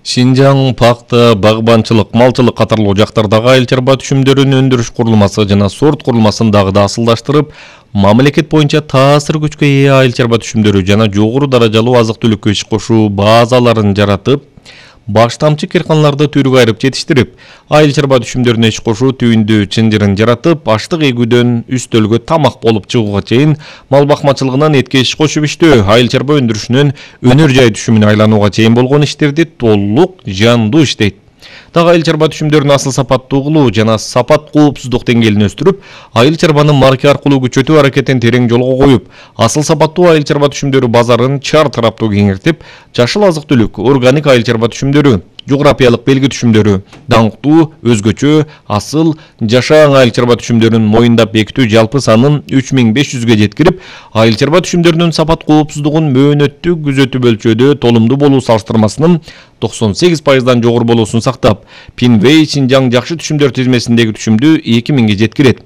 Шинжаң, пакта, багбанчылык, малчылык катарлуу жактардагы айыл чарба түшүмдөрүн өндүрүш курулмасы жана сорт курулмасын дагы да асылдаштырып, мамлекет боюнча таасир күчкө ээ айыл чарба түшүмдөрү жана жогору даражалуу азык-түлүккө иш кошуу базаларын жаратып, баштамчы кыйрканаларды түргө айырып жетиштирип, айыл чарба түшүмдөрүнө иш кошуу түйүндү чынжырын жаратып, аштык эгүүдөн үстөлгө тамак болуп чыгууга чейин мал бакмачылыгынан этке иш кошуп иштөө, айыл чарба өндүрүшүнөн өнөр жай түшүмүнө айланууга чейин болгон иштерди толук жандуу иштейт. Дагы айыл чарба түшүмдөрүн асыл сапаттуу кылуу жана сапат коопсуздук деңгээлин өстүрүп, айыл чарбаны марка аркылуу күчөтүү аракетин терең жолго коюп, асыл сапаттуу айыл чарба түшүмдөрү базарын чар тараптуу кеңейтип, жашыл азык-түлүк, органик айыл чарба түшүмдөрү, жографиялык белги түшүмдөрү, даңктуу, өзгөчө, асыл, жашаан айыл чарба түшүмдөрүн моюндап бекитүү жалпы санын 3500ге жеткирип, айыл чарба түшүмдөрүнүн сапат коопсуздугун мөөнөттүк күзөтүү бөлчөдө толумдуу болуу салыштырмасынын 98%дан жогору болуусун сактап, Пинвей Шинжаң жакшы түшүмдөр тизмесиндеги түшүмдү 2000ге жеткирет.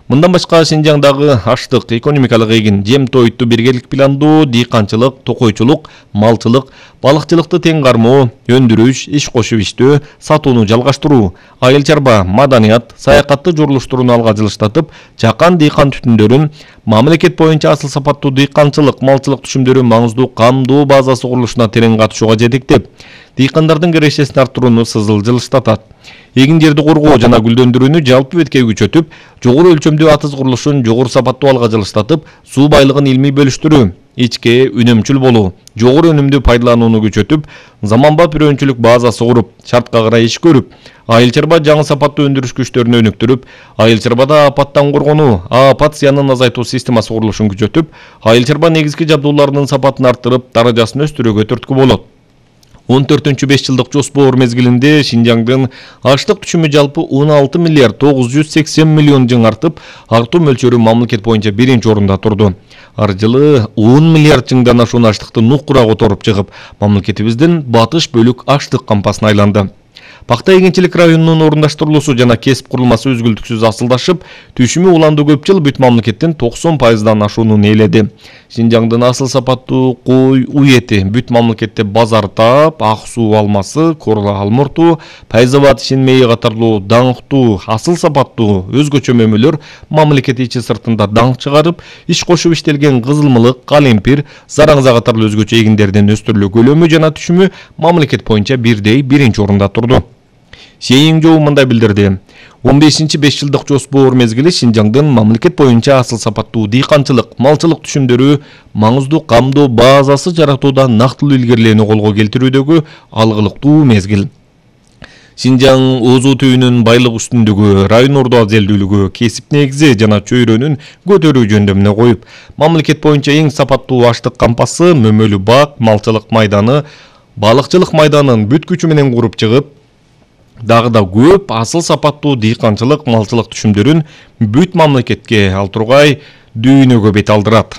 Мындан башка Шинжаңдагы аштык, экономикалык эгин, жем-тоютту биргелик пландоо, дыйканчылык, токойчулук, малчылык, балыкчылыкты тең кармоо, өндүрүш, иш кошуп иштөө, сатууну жалгаштыруу, айыл чарба, маданият, саякатты журулуштурууну алга жылыштатып, чакан дыйкан түтүндөрүн, мамлекет боюнча асыл сапаттуу дыйканчылык, малчылык түшүмдөрү маңыздуу камдоо базасы курулушуна терең катышууга жетектеп, дыйкандардын кирешесин арттырууну сызыл жылыштатат. Эгин жерди коргоо жана гүлдөндүрүүнү жалпы бетке күчөтүп, жогору өлчөмдүү атыз курулушун жогору сапаттуу алга жылыштатып, суу байлыгын илмий бөлүштүрүү, ичке үнөмчүл болуу, жогору өнүмдү пайдаланууну күчөтүп, заманбап үрөөнчүлүк базасы куруп, шартка карай иш көрүп, айыл чарба жаңы сапаттуу өндүрүш күчтөрүнө өнүктүрүп, айыл чарбада апаттан коргонуу, апат зыянын азайтуу системасы курулушун күчөтүп, айыл чарба негизги жабдууларынын сапатын арттырып, даражасын өстүрүүгө түрткү болот. 14-5 жылдык жоспор мезгилинде Шинжаңдын аштык түшүмү жалпы 16 миллиард 980 миллион жың артып, артуу мөлчөрү мамлекет боюнча биринчи орунда турду. Ар жылы 10 миллиард жыңдан ашуун аштыкты нукура которуп чыгып, мамлекетибиздин батыш бөлүк аштык кампасына айланды. Пакта эгинчилик районунун орундаштырылуусу жана кесип курулмасы үзгүлтүксүз асылдашып, түшүмү уланды көп жыл бүт мамлекеттин 90%дан ашуунун ээледи. Шинжаңдын асыл сапаттуу кой, уй эти бүт мамлекетте базар таап, ак суу алмасы, Корла алмурту, Пайзабад ишин мейи катарлуу даңктуу, асыл сапаттуу өзгөчө мөмөлөр мамлекет ичи сыртында даңк чыгарып, иш кошуп иштелген кызылмылык, калемпир, зараңза катарлуу өзгөчө эгиндердин өстүрүлүү көлөмү жана түшүмү мамлекет боюнча бирдей биринчи орунда турду. Сейин Жоу мындай билдирди. 15-5 жылдык жоспор мезгили Шинжаңдын мамлекет боюнча асыл сапаттуу дыйканчылык, малчылык түшүмдөрү маңыздуу камдоо базасы жаратууда нактылуу илгерилүүнү колго келтирүүдөгү алгылыктуу мезгил. Шинжаң Озу түйүнүн байлык үстүндүгү, район ордо азелдүүлүгү, кесип негизи жана чөйрөнүн көтөрүү жөндөмүнө коюп, мамлекет боюнча эң сапаттуу аштык кампасы, мөмөлүү бак, малчылык майданы, балыкчылык майданын бүт күчү менен куруп чыгып, дагы да көп асыл сапаттуу дыйканчылык, малчылык түшүмдөрүн бүт мамлекетке, ал тургай дүйнөгө бет алдырат.